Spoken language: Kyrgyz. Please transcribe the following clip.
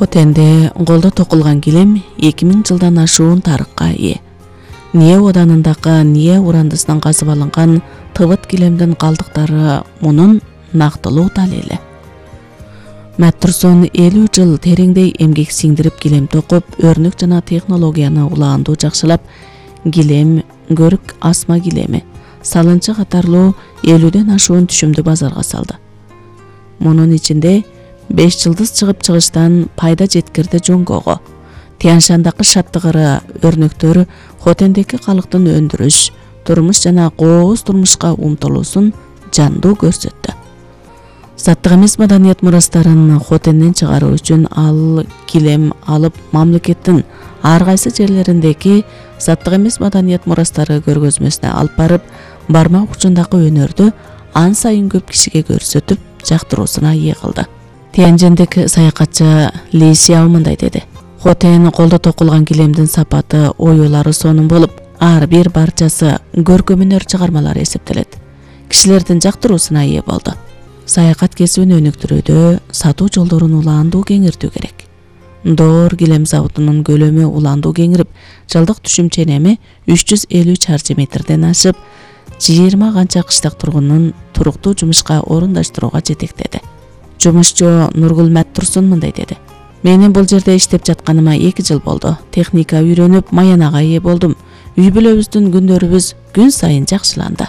Хотенде колдо токулган килем 2000 жылдан ашуун тарыкка ээ. Ние оданындагы Ние урандысынан казып алынган тыбыт килемдин калдыктары мунун нактылуу далили. Маттурсон 50 жыл тереңдей эмгек сиңдирип килем токуп, өрнөк жана технологияны улаандуу жакшылап, килем, көрүк асма килеми, салынчы катарлуу 50ден ашуун түшүмдү базарга салды. Мунун ичинде 5 жылдыз чыгыштан пайда жеткирди жоңгого. Тяньшандагы шаттыгыры өрнөктөр Хотендеги калктын өндүрүш, турмуш жана кооз турмушка умтулуусун жандуу көрсөттү. Заттык эмес маданият мурастарын Хотенден чыгаруу үчүн ал килем алып мамлекеттин ар кайсы жерлериндеги заттык эмес маданият мурастары көргөзмөсүнө алып барып, бармак учундагы өнөрдү ан сайын көп кишиге көрсөтүп, жактыруусуна ээ кылды. Тяньшандык саякатчы Ли Сяо мындай деди: Хотен колдо токулган килемдин сапаты, оюлары сонун болуп, ар бир барчасы көркөм-өнөр чыгармалары эсептелет. Кишилердин жактыруусуна ээ болду. Саякат кесибин өнүктүрүүдө сатуу жолдорун улаандуу кеңиртүү керек. Доор килем заводунун көлөмү улаандуу кеңирип, жылдык түшүм ченеми 350 чарчы метрден ашып, 20 канча кыштак тургунун туруктуу жумушка орундаштырууга жетектеди. Жумушчу Нургул Маттурсон мындай деди: Менин бул жерде иштеп жатканыма 2 жыл болду. Техника үйрөнүп, маянага ээ болдум. Үй бүлөбүздүн күндөрүбүз күн сайын жакшыланды.